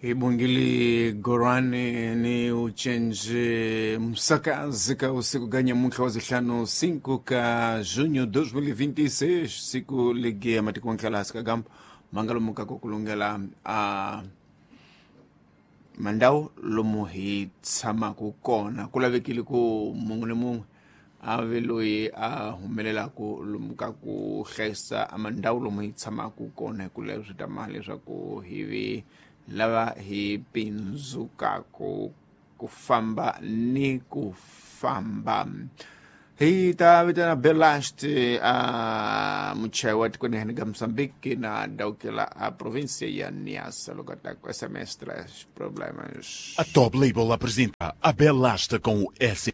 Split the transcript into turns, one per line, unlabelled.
Ibungili Gorani ni uchenje msakazi ka usiku ganya muntlha wa zihlanu 5 ka junho 2026, siku ligi ya matiko ntlhalasi ka gamba mangalo ka kulungela a mandau lomu hi tshamaka kona. Ku lavekile ku mun'we ni mun'we a ve loyi a humelelaku lomu ka ku hlayisa mandhawu lomu hi tshamaka kona, hi ku leswi ta mali leswaku hi vi lava hi pindzukaku ku famba ni ku famba. Hi ta vitana Belast, a muchayi wa tikweni hene ka Mozambique na daukela a província ya Niassa, loko ta ku SMS traz problemas.
A Top Label apresenta a Belasta com o S.